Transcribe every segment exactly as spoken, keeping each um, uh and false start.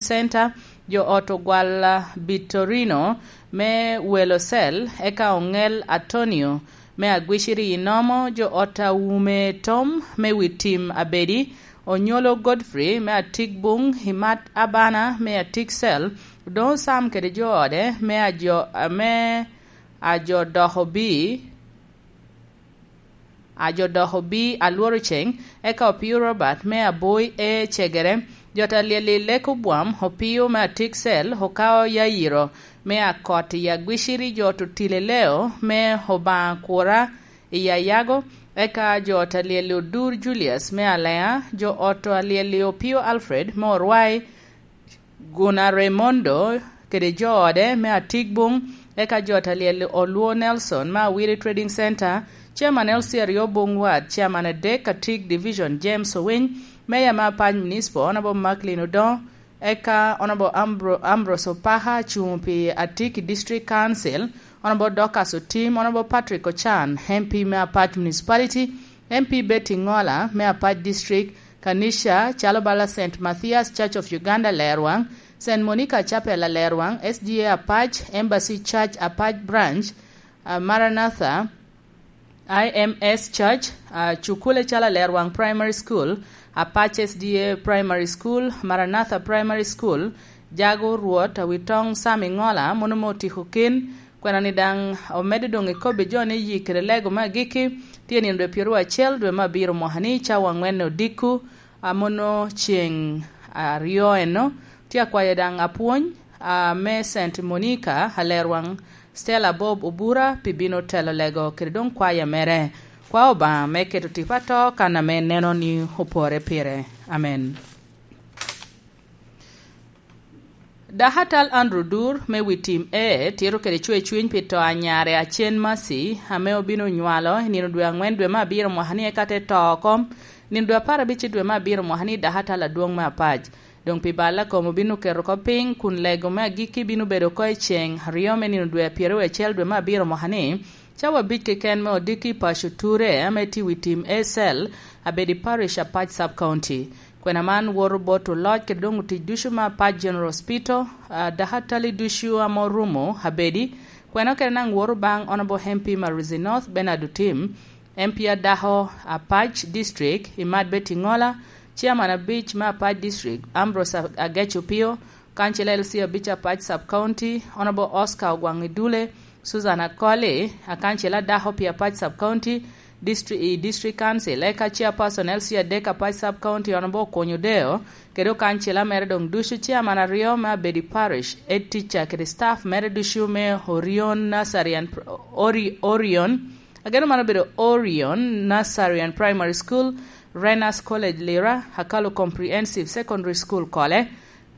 Center, jo ot Ogwal, ah, Bittorino me Welo Cell, eka Oŋel Antonio me Agwiciri i Nomo, jo ot Awume Tom me Witim Abedi, Onyolo Godfrey me Atik Buŋ, Imat Abana me Atik Cell, Odoŋo Sam kede jo ode me ajo, me ajo dok obi, ajo dok obi Alworo Ceŋ, eka Opio Robert me Aboi e Cegere, jo ta lyel i Lek Obwam, Opio me Atik Cell, Okao Yayiro me Akot i Agwiciri, jo Ototile Leo me Obaŋa Kura i Ayago, eka jo ta lyel i Odur Julius me Aleŋa, jo ot a lyel i Opio Alfred me Orwai, Guna Raymondo kede jo ode me Atigbuŋ, eka jo ta lyel Oluo Nelson me Awiri Trading Center, Chairman L C aryo Buŋ Ward, Chairman adek Atig Division James Owiny, Mayor me Apac Municipal Honorable Macklin Odoŋo, eka Honorable Ambro-, Ambrose Opaka, cuŋ pi Atig i District Council, Honorable Dorcas Otim, Honorable Patrick Ochan, M P me Apac Municipality, M P Betty Ŋola me Apac District, Kanisha calo bala Saint Matthias Church of Uganda Lerwaŋ, Saint Monica Chapel Alerwaŋ, S D A Apac, Embassy Church Apac Branch, ah, Maranatha, I M S Church, ah, cukule calo Alerwaŋ Primary School, Apac S D A Primary School, Maranatha Primary School, Jago Rwot, Awitoŋ Sam Iŋola, mono me otiko kin, Kwena-ni daŋ omedde doŋ i kobbi jo ni yik kede lego me agikki tye nino dwe pyeraryo acel dwe me abiro mwaka-ni, cawa aŋwen odiko, a mono ceŋ aryo eno. Tye akwayo daŋ apwony, a, me Saint Monica, Alerwaŋ, Stella Bob Obura, pi bino telo lego kede doŋ kwaya mere. Kwa Obaŋa me keto tipo ato kan ame neno ni opore pire. Amen. Dakatal Andrew Dur me Witim A tito kede cwercwiny pi to a nyare Acen Mercy, ame obino nywalo i nino dwe aŋwen dwe me abiro mwaka-ni, eka te to oko nino dwe apar abic dwe me abiro mwaka-ni i dakatal adwoŋ me Apac. Doŋ pi bal a kom obino keto oko piny, kun lego me agikki bino bedo oko i ceŋ aryo me nino dwe apyeto acel dwe me abiro mwaka-ni, cawa abic keken me odiki i paco Ture, ame tye i Witim A cell, Abedi Parish, Apac Sub County. Kwena man woto bot oloc kede doŋ otic ducu me Apac General Hospital, a, dakatal ducu ame orumo Abedi. Kwena okene daŋ woto baŋ Honorable M P Maruzi North, Bernard Otim, M P adako Apac District, Imat Betty Ŋola, Chairman abic me Apac District, Ambrose Ag-, Agec Opio, Kancila L C abic Apac Sub County, Honorable Oscar Ogwaŋ Idule, Susan Akoli, akancila adako pi Apac Sub County, distri-, i District Council, eka Chairperson L C adek Apac Sub County, Honorable Okonyo Deo, kede okancila mere doŋ ducu, Chairman aryo me Abedi Parish, Head Teacher kede staff mere ducu me Orion Nursery and Pr-, Ori-, Orion, ageno man obedo Orion Nursery and Primary School, Renas College Lira, Akalu Comprehensive Secondary School Kole,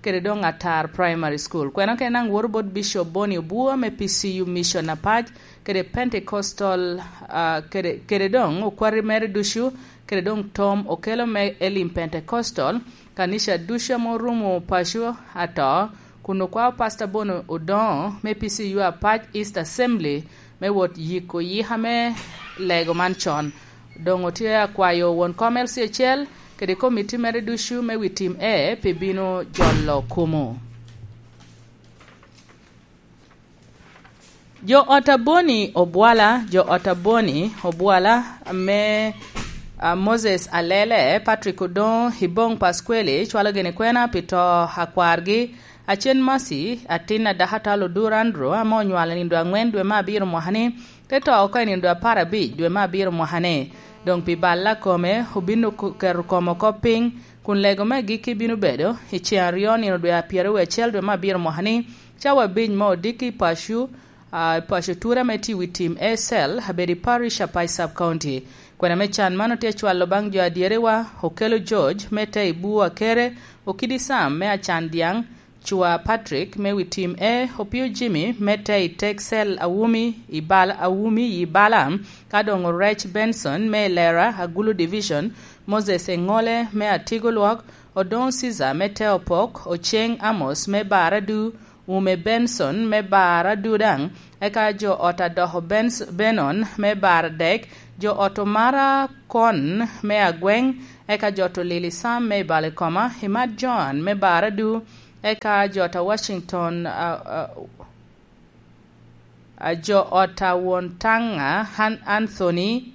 kede doŋ Atar Primary School. Kwena okene daŋ woto bot Bishop Boni Obua me P C U Mission Apac, kede Pentecostal, ah, kede, kede doŋ okwati mere ducu, kede doŋ Tom Okelo me Elim Pentecostal, kanica ducu ame orumo paco ato, kun okwao Pastor Boni Odoŋo me P C U Apac East Assembly me wot yiko yika me lego man con. Doŋ otye akwayo won kom L C acel kede komiti mere ducu me Witim A pi bino jolo kumo. Jo ot Aboni Obwala, jo ot Aboni Obwala me, ah, Moses Alele, Patrick Odoŋo, Iboŋ Pasqueli, cwalo gini kwena pi to akwargi, Acen Mercy, atin a dakatal Odur Andrew, ame onywalo i nino dwe aŋwen dwe me abiro mwaka-ni, te to oko i nino dwe apar abic dwe me abiro mwaka-ni. Doŋ pi bal a kome, obino ku-, keto kome oko piny, kun lego me agikki bino bedo i ceŋ aryo nino dwe apyerawecel dwe me abiro mwaka-ni, cawa abic me odiki i paco, ah, i paco Ture ame tye i Witim A cell, Abedi Parish, Apac Sub County. Kwena me can man otye acwalo baŋ jo adyerewa, Okelo George, me te i Buu Akere, Okidi Sam, me Acan Dyaŋ, Cwa Patrick me Witim A, Opio Jimmy me te i Texel Awumi i Bal-, Awumi i Bala, ka doŋ Orec Benson me Lera Agulu Division, Moses Eŋole me Atigo Lwok, Odoŋo Caesar me te Opok, Oceng Amos me Baradu, Ume Benson me Baradu daŋ, eka jo ot Adoko Bens-, Benon me Baradek, jo ot Omara Kon me Agweŋ, eka jo ot Olili Sam me Balikoma, Imat Joan me Baradu, Eka jo ot a Washington, a, a, a jo ot a won Taŋa, Han-, Anthony,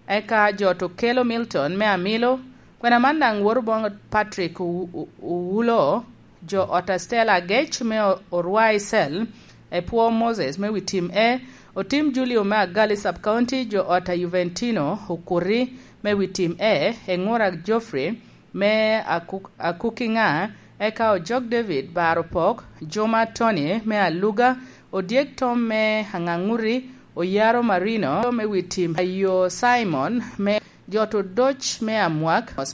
eka jo ot Okelo Milton me Amilo, kwena man daŋ woto boŋo Patrick Owu-, Owu-, Owulo, jo ot a Stella Agec me O-, Orwa Icel, Epwo Moses me wi tim E, Otim Julio me Agali Sub County, jo ot a Juventino Okuti me wi tim E, Eŋura Geoffrey me Akuk-, Akukiŋa, eka Ojok David Bar Opok, Juma Tony me Aluga, Odyek Tom me Aŋaŋuti, Oyaro Marino me wi tim Ayo Simon me jo ot Odoc me Amwak,